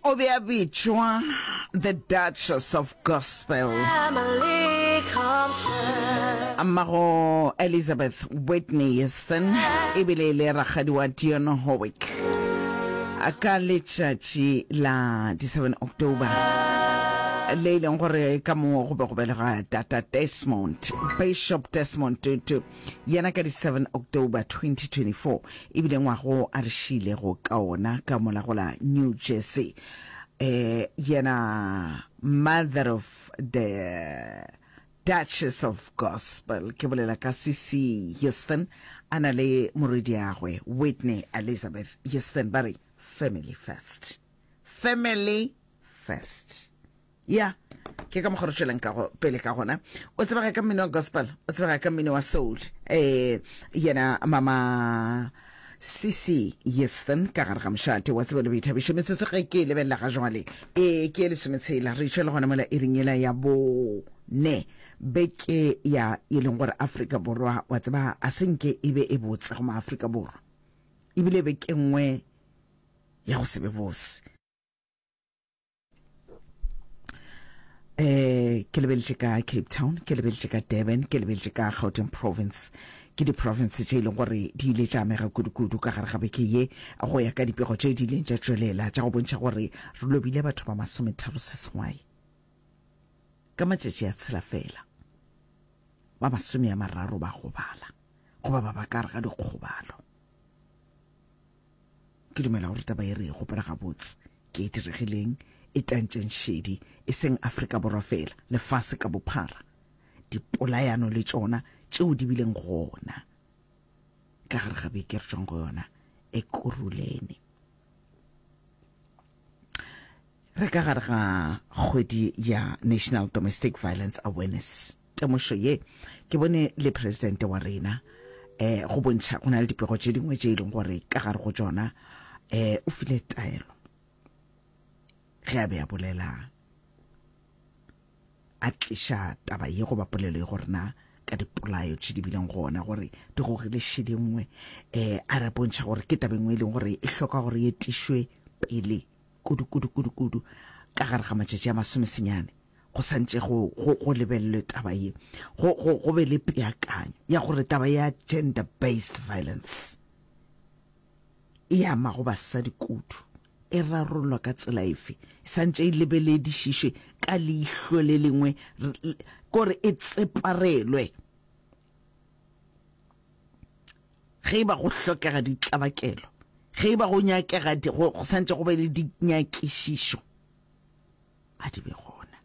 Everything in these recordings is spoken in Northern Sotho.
O be a bitšwa The Duchess of Gospel. Mmago Elizabeth Whitney Houston e bile e le rakgadi wa Dionne Warwick. Ka letšatši la di 7 October le e leng gore ka mo go be go belega Tata Desmond, Bishop Desmond Tutu, yena ka di 7 October 2024 e bile ngwago a re šiilego ka ona ka mola go la New Jersey. Eh, yena Mother of the Duchess of Gospel, ke bolela ka CC Houston, a na le morwediagwe Whitney Elizabeth Houston, ba re family first. Family first. Ya, ke ka mokgwa re tšwelang ka go, pele ka gona. O tsebega ka mmino wa gospel, o tsebega ka mmino wa soul. Eh, yena mama CC Houston ka gare ga mošate wa tsebo le boithabišo. Metsotso ge ke e lebelela ga jwale, e ke e lesometshela, re išwa le gona mola iring yela ya bone beke ya e leng gore Afrika Borwa wa tseba a se nke e be e botse go maAfrika Borwa, ebile beke nngwe ya go se be bose. Eh, ke lebeletše ka Cape Town, ke lebeletše ka Durban, ke lebeletše ka Gauteng Province. Ke di-province tše e leng gore di ile tša amega kudu-kudu ka gare ga beke ye go ya ka dipego tše di ileng tša tšwelela tša go bontšha gore re lobile batho ba masometharo seswai ka matšatši a tshela fela, ba masome a mararo ba gobala goba ba ba ka gare ga dikgobalo. Ke dumela gore taba ye re e gopola gabotse. Ke e diregileng e tantšeng šedi, e seng Afrika Borwa feela, lefase ka bophara. Dipolayano le tšona tšeo di bileng gona ka gare ga beke re tšwang go yona, Ekurhuleni. Re ka gare ga kgwedi ya National Domestic Violence Awareness. Temošo ye ke bone le presidente wa rena eh go bontšha go na le dipego tše dingwe tše e leng gore ka gare go tšona eh o file taelo ge a be a bolela a tliša taba ye goba polelo ye gore na ka dipolayo tše di bileng gona gore di gogile šedi nngwe um a re bontšha gore ke taba e nngwe e leng gore e hloka gore e tišwe pele kudu kudu kudu kudu ka gare ga matšatši a masomesenyane go santše go, go, go lebelelwe taba ye go, go, go be le peakanyo ya gore taba ya gender based violence e amago basadi kudu e rarollwa ka tsela efe e santše e lebeledišišwe ka leihlo le lengwe kore e tseparelwe Ge e ba go hlokega ditlabakelo, ge e ba go nyakega, go, go santše go be le dinyakišišo, a di be gona.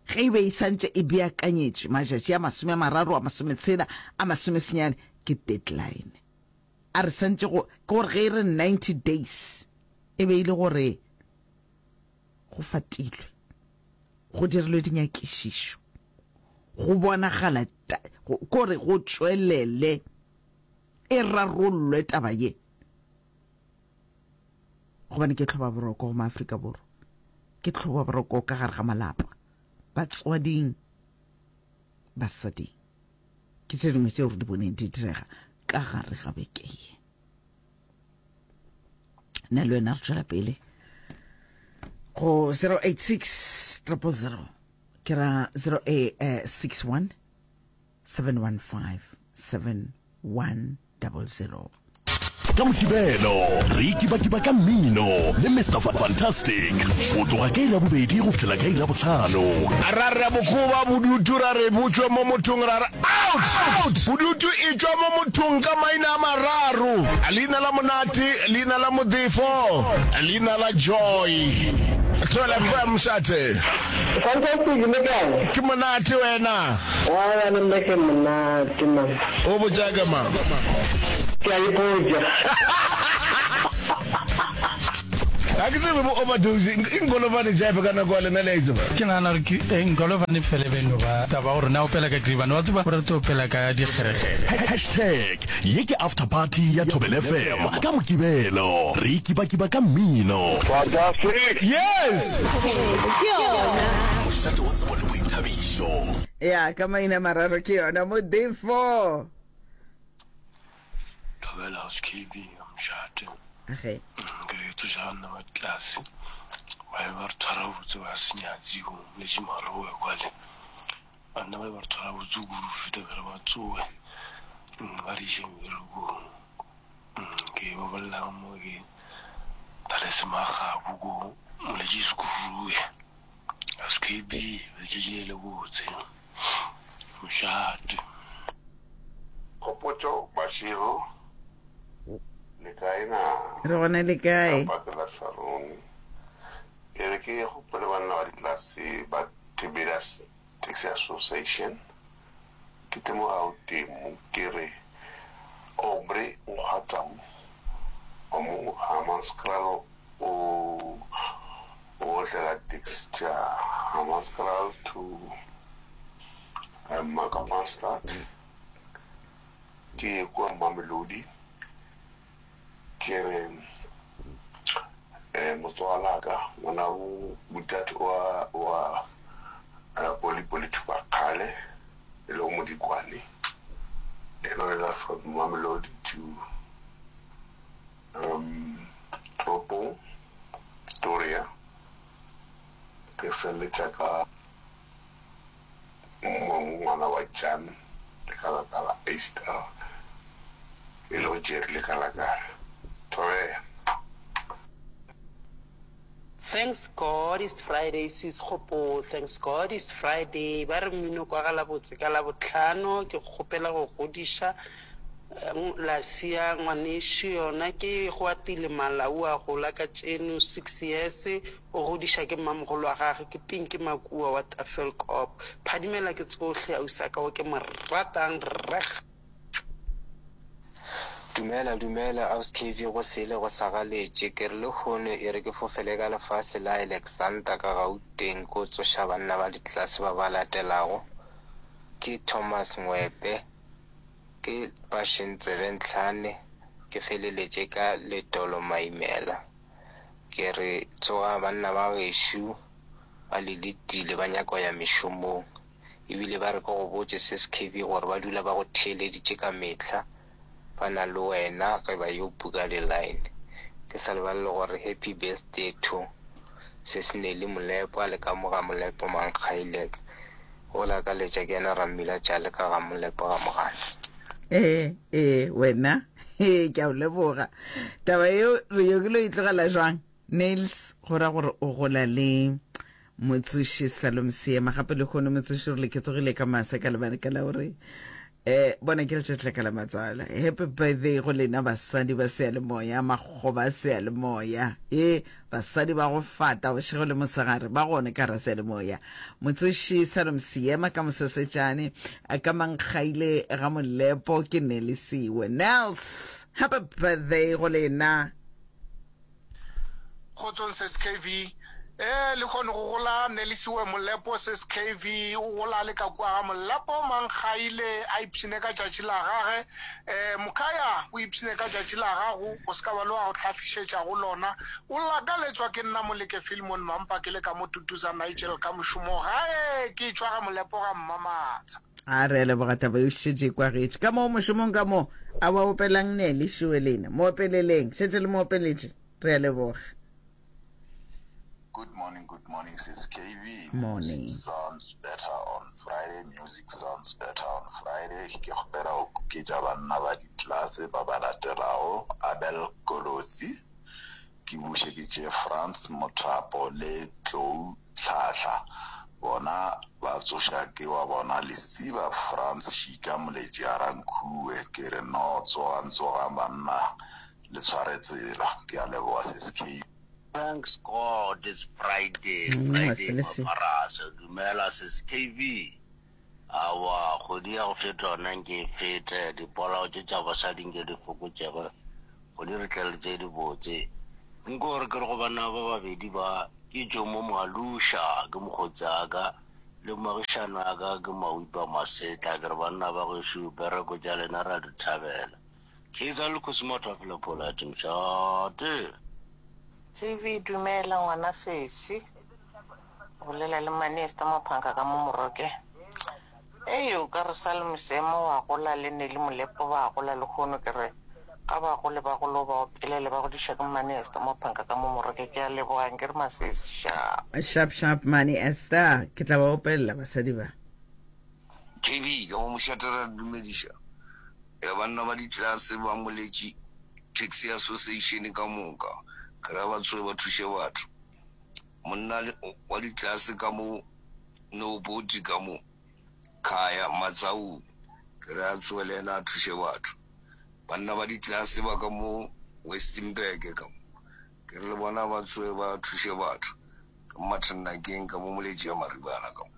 Ge e be e santše e beakanyetšwe matšatši a masome a mararo, a masometshela, a masomesenyane, ke deadline. A re santše go, ke gore ge e re 90 days, e be e le gore go fatilwe, go dirilwe dinyakišišo. Go bonagala kore go tšwelele e rarollwe taba ye, gobane ke tlhobaboroko go maAfrika Borwa, ke tlhobaboroko ka gare ga malapa, batswading, basading. Ke tše dingwe tšeo re di boneng di direga ka gare ga beke ye. Nna le wena re tšwela pele go 086 000 ke ra 061 715 7100. Ka Mokibelo re ikibakiba ka mmino le Mister Fantastic go tloga ka iri ya bobedi go fihlela ka iri ya bohlano. Ra re bokoba bodutu ra re bo tšwe mo mothong ra re out! Bodutu e tšwa mo mothong ka maina a mararo, leina la Monate, leina la Modefo, leina la Joy. Thobela FM, Mošate. Fantastic, le kae? Ke monate wena. Aowa le nna ke monate man. O botša ke mang? Ke a ipotša. Ga ke tsebe bo overdose e nkolovane jive ka nako ya lena le a e tseba. Ke nagana gore ke eh, nkolovane fela e be no ba taba gore na opela ka kribane wa tseba o rata opela ka dikgerekgere. Hashtag ye ke after party ya Thobela FM ka Mokibelo. Re ikibakiba ka mmino. Fantastic! Yes! Ke yona. Mošate wa tsebo le boithabišo. Ya, ka maina mararo ke yona. Modefo. Thobela House KB, Mošate. Age. Ke re tsoša banna ba tlase ba be ba re tshwara botse ba senyatsi go letše marowe kwale banna ba be ba re tshwara botse kudu go feta be re ba tsoge ba re iše meberekong ke ba bolelang mo ke Dalese Magabu ko Moletši Sekurue SKB letšatši le le botse mošate. Kgopotšo Bašego, Le kae na? Re gona le kae? Ka pake la Sarone. E re ke gopole banna ba ditlelase ba Tiberias Taxi Association. Ke tle mo Gauteng mo ke re Aubrey Nkgwatau wa mo Hammanskraal o o otlela taxi tša Hammanskraal to Makapanstad. Ke ye kua Mamelodi ke re motswalaka ngwanabo botate wa wa Poli Poli Thubakgale e lego Modikwane yena o lela from Mamelodi to um toropong Pretoria ke feleletša ka Ngwana wa Jan Lekalakala Easter e lego Jerry Lekalakala. Thobela. Thanks God it's Friday sis Kgopo thanks God it's Friday ba re mmino kwagala botse ka Labohlano ke kgopela go godiša Lasia ngwanešu yona ke Goatile Malau a gola ka tšeno six years O godiša ke mmamogolo wa gage ke Pinky Makua wa Tafelkop. Phadimela ke tsohle ausaka wo ke mo ratang reg. Dumela dumela aus KV go sele go sa galetše ke re lehono e re ke fofele ka lefase la Alexander ka Gauteng ko tsoša banna ba ditlelase ba ba latelago ke Thomas Ngwepe ke Passion Tsebentlhane ke feleletše ka Letolo Maimela. Ke re, Tsoga, banna ba gešo ba le letile, ba nyaka go ya mešomong. Ebile ba re ke go botše, Sis KB, gore ba dula ba go theeleditše ka mehla, ba na le wena ge ba yo buka di-line. Ke sa lebale le gore happy birthday to Sis Nelly Molepo, a le ka mo ga Molepo Mankgaile. O lakaletša ke yena Rammila Tšale ka ga Molepo ga Mogale. Ee, ee, wena. Ee, ke a o leboga. Taba yeo re yo ke lo e tlogela jwang? Nails, go ra gore o gola le motsoši Salom Seema. Gape lehono motsoši re le ke tsogile ka masa ka lebaka la gore eh bona ke letšatši la ka la matswalo. Happy birthday go lena basadi ba seyalemoya, makgoba a seyalemoya. Ee, Basadi ba go fata bošego le mosegare ba gone ka Raselemoya. Motsoši Salom Seema ka Mosesetšane, ka Mankgaile ga Molepo ke Nelisiwe. Nels, happy birthday go lena. Kgotsong Sis KV. Ee, lehono go gola Nelisiwe Molepo Sis KV o gola a le ka kua ga Molepo Mankgaile a ipshine ka tšatši la gage. Ee, mokhaya, o ipshine ka tšatši la gago, o se ka ba le wa go hlafišetša go lona. O lakaletswa ke nna Moleke Philemon Mampa ke le ka mo Tutuza Nigel ka mošomo gae ke tšwa ga Molepo ga Mmamatsha. A re a leboga taba yeo šetše e kwagetše. Ka moo mošomong ka moo a wa opelang ne le šiwe lena. Mo opeleleng. Šetše le mo opeletše. Re a leboga. Good morning, good morning, sis KV. Morning. Music sounds better on Friday. Music sounds better on Friday. Ke kgopela go kuketša banna ba ditlelase ba ba latelago, Abel Kolotsi, ke buše ke tšee Frans Mothapo le Tlou Tlhahla. Bona ba tsoša ke wa bona Lesiba Frans Šika Moletši a Rankhuwe. Ke re no tsogang tsogang banna le tshware tsela. Ke a leboga sis KV. Thanks God it's Friday, Friday mafarasa. Dumela sis KV. Aowa kgwedi ya go feta yona nke e fete, dipolao tše tša basadi nke di fokotšege, kgwedi re tle le tše dibotse. Nko re ke re go banna ba babedi ba, ke Jomo Moaluša ke mokgotsi wa ka, le moagišani wa ka ke Mawipa Masetla, ke re banna ba gešo bereko tša lena ra di thabela. Kaizer le Kgosi Mathafela Polite Mshate. TV, Dumela ngwana sesi. O bolela le Mane Esther Maphanka ka mo Moroke. Ei o ka re Salome Seemo wa gola le Nelly Molepo ba gola lehono ke re. Ga ba gole ba golo ba opelele ba godišwa ke Mmane Esther Mophanka ka mo Moroke. Ke a leboga nke re masesi sharp. Sharp sharp Mmane Esther, ke tla ba opelela basadi ba. KB, Ka mo mošate re a le dumediša ya banna ba ditlelase ba Moletši Taxi Association ka moka. Ke ra ba tsoge ba thuše batho. Monna wa ditlelase ka mo Nooboti ka mo Khaya Matsaung ke re a tsoge le yena a thuše batho. Banna ba ditlelase ba ka mo Westenburg ka mo ke re le bona ba tsoge ba thuše batho. Ke Martin Nakeng ka mo Moletši ya Maribana ka mo.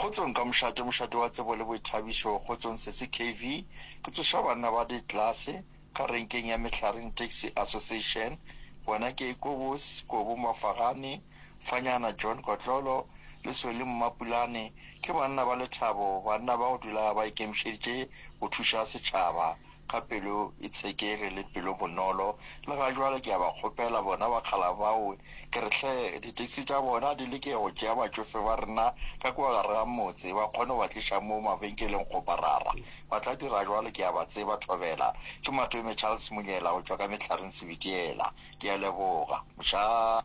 Kgotsong ka mošate, mošate wa tsebo le boithabišo, kgotsong sesi KV, ke tsoša banna ba ditlelase ka renkeng ya Mehlareng Taxi Association, bona ke Kobos, Kobo Mafagane, Fanyana John Kotlolo le Solly Mmapulane, ke banna ba lethabo, banna ba go dula ba ikemišeditše go thuša setšhaba ka pelo e tshekege le pelo bonolo. Le ga jwale ke a ba kgopela bona bakgala bao, ke re hle ditaxi tša bona di leke go tšea batšofe ba rena ka kua gare ga motse ba kgone go ba tliša mo mabenkeleng kgoparara. Ba tla dira jwalo ke a ba tseba Thobela. Ke Matome Charles Monyela go tšwa ka Mehlareng Sebitiela. Ke a leboga. Mošate.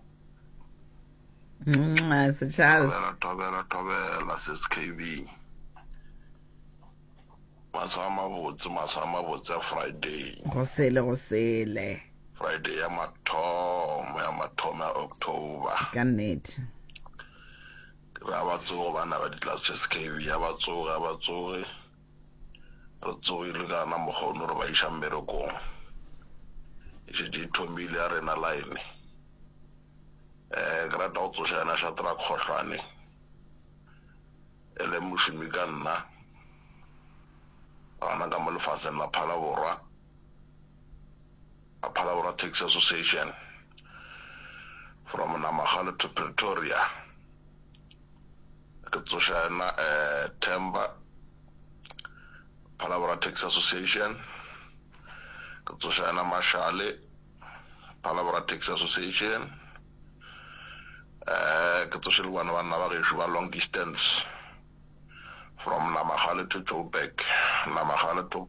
Mwah, Sir Charles. Thobela, thobela, thobela, Sis KB. Masa a mabotse, masa a mabotse a Friday. Go sele, go sele. Friday ya mathomo, ya mathomo ya October. Ka nnete. Ke re a ba tsoge bana ba ditlase SKB, a ba tsoge, a ba tsoge. Re tsogile ka na mokgono re ba iša mmerekong. E šetše e thomile ya rena line. Eh, ke rata go tsoša yena Shadrack Kgohlwane. E le mošomi ka nna, gona ka mo lefaseng la Phalaborwa, la Phalaborwa Taxi Association, from Namagale to Pretoria. Ke tsoša yena eh, Themba, Phalaborwa Taxi Association. Ke tsoša yena Mashale, Phalaborwa Taxi Association. Eh, ke tsoše le bona banna ba gešo ba long distance from Namagale to Joburg, Namagale to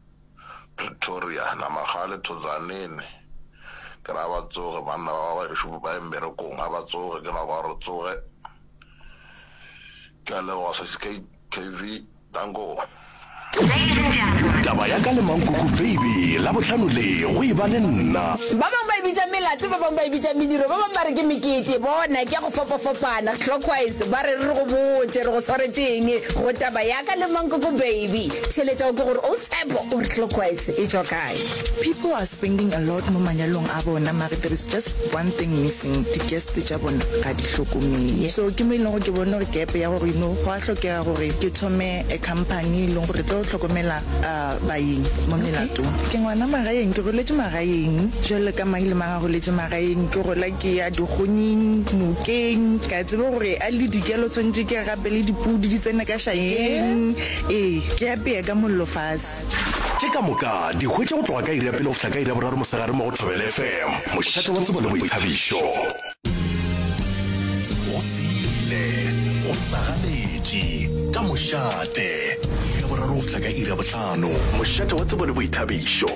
Pretoria, Namagale to Tzaneen. Ke ra ba tsoge banna ba ba gešo ba ye mmerekong, a ba tsoge, ke nako ya gore tsoge. Ke a leboga Sesi KV. Danko. Taba ya ka le Mankoko Baby, Labohlano le go e ba le nna. Ba bangwe ba e bitša melato, ba bangwe ba e bitša mediro, ba bangwe ba re ke mekete. Bona, ke ya go fapafapana. Clockwise, ba re re go botše re go swaretše eng go taba ya ka le Mankoko Baby. Theeletša o kwe gore o Tshepo o re Clockwise e tšwa kae. People are spending a lot mo manyalong a bona mare there is just one thing missing, di guest tša bona ga di hlokomele. So ke mo e leng gore ke bone gore gap ya gore you know go a hlokega gore ke thome a company e leng gore e tlo hlokomela baeng mo melatong. Ke ngwana magaeng, ke goletše magaeng jwalo ka mang le mang a goletše magaeng. Ke gola ke ya dikgonyeng, nokeng, ka tseba gore a le dikelo tshwanetše ke gape le dipudi di tsene ka šakeng. Ee, ke apea ka mollo fase. Tše ka moka di hwetše go tloga ka iri ya pele go fihla ka iri ya boraro mosegare mo go Thobela FM, mošate wa tsebo le boithabišo. Go sele, go sagaletše, ka mošate, iri ya boraro go fihla ka iri ya bohlano. Mošate wa tsebo le boithabišo.